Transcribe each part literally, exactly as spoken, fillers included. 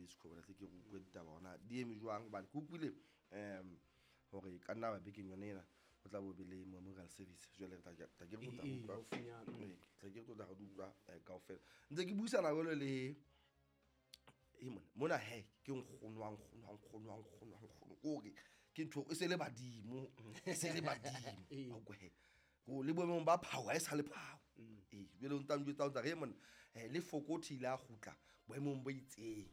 Sekhobo tle ke re utlwe ditaba hona di eme jwang hobane ke utlwile um hore ka nna ba bekeng yone ena o tla bo be le memorial service jwale re tla tla ke re tla Ee, utlwa haufinyana. Ee, tla ke re tla re di utlwa eh, kaofela ntse ke buisana jwalo le e mona mona he ke nkgono wa nkgono wa nkgono wa nkgono wa nkgono kore ke ntho e se le badimo e se le badimo Ee. Wa utlwa he ko le boemong ba phao ha e sa le phao ee jwale o ntsa njwetsa o ntsa re mona eh, le fokothi ile a kgutla boemong bo itseng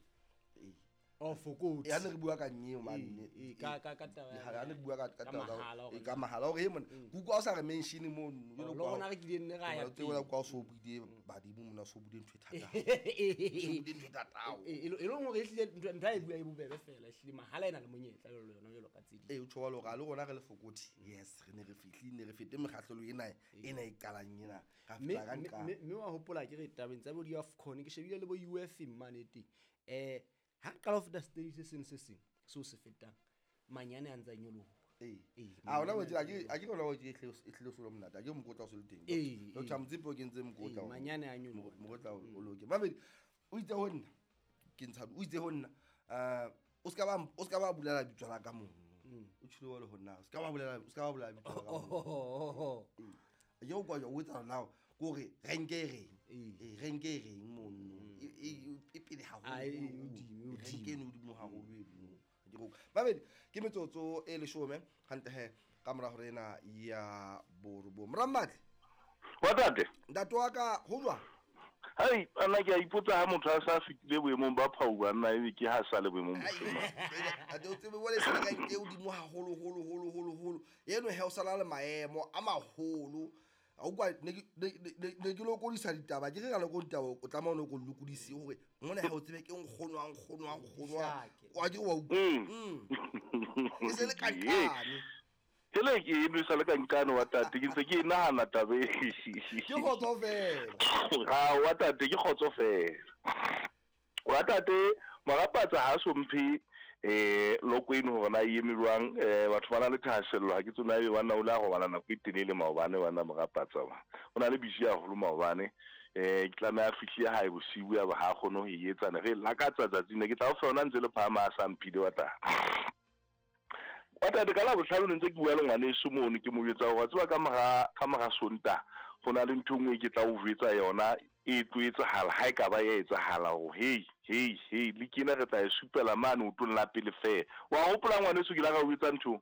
ee Oh, Fokotsi. e ha ne re bua ka nyeo mane Ee, ee, ka- ka- ka taba ya- ha ne re bua ka ka ka taba tsa- mahala hore ee, ka mahala hore e mona ke utlwa o sa re mention mono Oh, le rona re kileng ne ra ya tseo la pele. kwa o so buile badimo mona o so buile ntho e thata o so buile ntho e thata haholo. E e leng hore ehlile ntho ntho ha e bua e bobebe fela ehlile mahala e na le monyetla jwalo yona jwalo ka tse ding. Ee, o tjho jwalo hore a le rona re le Fokothi yes re ne re fihlile ne re fete mekgahlelo ena ena e qalang ena ra Mme fihla ka mme- nqa mme mme wa hopola ke re tabeng tsa bo di-AFCON ke shebile le bo U F mane teng. Eh ha re qala ho feta stage se seng se seng seo se fetang manyane a ntse a nyoloha. Ee. Ee, A hona manyane wetsi a a ke a ke hona wetsi e hlile e hlile o se le monate a ke mokotla o se le teng Ee, Doctor ee. Motsepe o kentse mokotla Ee, o- manyane a nyoloha. mokotla o o loke mamedi o itse ho nna ke ntsha o itse ho nna eh o ska ba o ska ba bulela bitso la ka mono o tshilo wa le ho nna o ska ba bulela o ska ba bulela bitso la ka mono Oh, ye o kwa o etsa now kore renke e reng Ee. ee renke e reng mono e e- e pele haholo Ah, e- e hodimo, e hodimo. renke e hodimo haholo eno Ke go babedi ke metsotso e leshome hantle he ka mora hore ena ya borobong Morammatle Wa tate ntate wa ka ho jwang hai ana ke a ipotsa ha motho a sa fetile boemong ba phau banna ebe ke ha sa le boemong bo feng. Ate o tsebe wale se le renke e hodimo haholo holo holo holo holo eno he o sala le maemo a maholo a utlwa ne ke ne- ne ne ke lokodisa ditaba ke re ka loko ditaba o tlameha o no ko lokodise hore mona he o tsebe ke nkgono wa nkgono wa nkgono wa Hlake. wa ke wa utlwa Mm. Mm. E se le kankane Hele ke e nwesa le kankane wa tate ke ntse ke e nahana taba e. ke kgotso fela Ha wa tate ke kgotso fela. Wa tate Marapatsa ha so mphe eh loko eno hore na e eme jwang eh batho ba na le thahasello ha ke tsona ebe banna o la robala nako e telele maobane bana Marapatsa ba. O na le busy haholo maobane eh ke tlameha a fihle hae bosiu ya ba ha kgone ho e etsa ne re lakatsa tsatsing ne ke tla o fa yona ntse le phahama a sa mphile wa tate. Wa tate ka Labohlano ne ntse ke bua le ngwaneso mono ke mo jwetsa hore wa tseba ka mora ka mora Sontaha ho na le ntho e nngwe ke tla o jwetsa yona e tlo etsahala ha e ka ba ya etsahala hore hey hey hey le kena re tla e supela mane otong la pele fela. Wa hopola ngwaneso ke la ka o jwetsa ntho?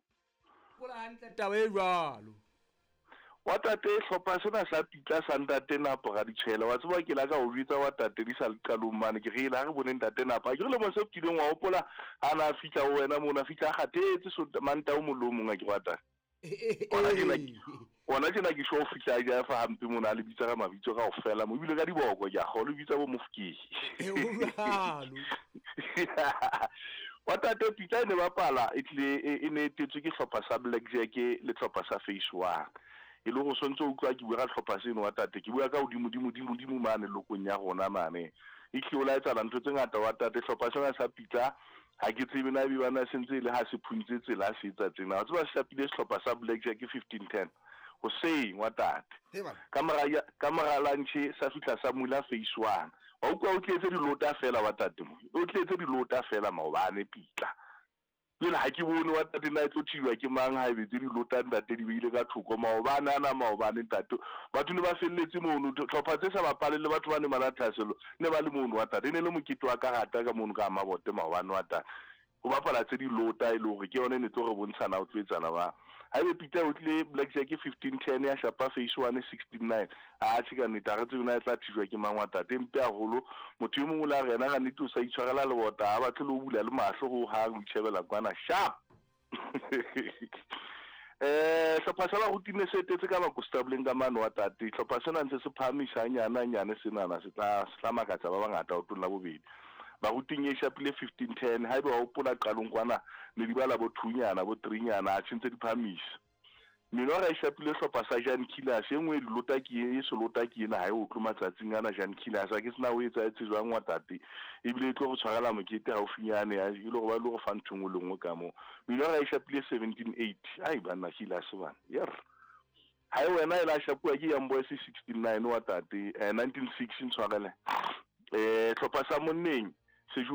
Hopola hantle taba e jwalo. Wa tate hlopha sena sa Pitla sa ntate Napo Raditshwele wa tseba ke la ka o jwetsa wa tate di sa le qalong mane ke re la re bone ntate Napo a ke re lemong se fetileng wa hopola ha na fihla ho wena mona fihla a kgathetse so Mantaha o mong le o mong a ke wa tate. Ona tjena ona tjena ke sho fihla ja fa hampe mona a le bitsa ka mabitso kaofela mo ebile ka diboko ke a kgolwa o bitsa bo Mofokeng. E ho jwalo. Wa tate Pitla e ne bapala e tlile e e ne etetswe ke hlopha sa Blackjack le hlopha sa Phase One. E le hore o sontso o utlwa ke bua ka hlopha seno wa tate ke bua ka hodimo dimo dimo dimo mane lokong ya rona mane. E tlile o la etsahala ntho tse ngata wa tate hlopha sena sa Pitla ha ke tsebe na ebe bana se ntse e le ha se phuntse tsela se etsa tsena. Wa tseba se shapile sehlopha sa Blackjack fifteen ten hoseng wa tate. He bana. Ka mora ya ka mora lunch sa fihla sa mula Phase One. Wa utlwa o tletse dilota fela wa tate mo. O tletse dilota fela maobane Pitla. Jwale ha ke bone wa tate na e tlo thijwa ke mang ha ebe tse dilota ntate di beile ka thoko maobane ana maobane ntate. Batho ne ba felletse mono tlhopha tse sa bapale le batho ba ne ba na thahasello ne ba le mono wa tate. E ne le mokete wa karata ka mono ka Mabote maobane wa tate. Ho bapala tse dilota e le hore ke yona e ne tlo re bontshana ho tlo etsana ba. Ha ebe Pitla o tlile Blackjack fifteen ten ya shapa Phase One sixteen nine. A tjhe ka nnete ha re tsebe na e tla thijwa ke mang wa tate. Mpe haholo motho e mong o la re yena ka nnete o sa itshwarela lebota ha batle le ho bula le mahlo ho hang o itjhebela kwana sharp. Eh hlopha sa baruti ne se etetse ka bakostableng ka mane wa tate. Hlopha sena ntse se phahamisa hanyane hanyane senana se tla se tla makatsa ba bangata otong la bobedi. Baruting e shapile fifteen ten haebe wa hopola qalong kwana ne di bala bo two-nyana bo three-nyana a tjhentse di phahamisa. Minora e shapile hlopha sa Jan Killers e nngwe lota ke e selota ke ena ha e utlwe matsatsing ana Jan Killers ha ke sena o etsa etse jwang wa tate ebile e tlo go tshwarela mokete haufinyane ya e le gore ba le go fa ntho nngwe le nngwe ka moo. Minora e shapile seventeen eight ai banna Killers bana yer ha e wena e la shapuwa ke Young Boys sixteen nine wa tate eh, nineteen six ntshwarele eh hlopha sa monneng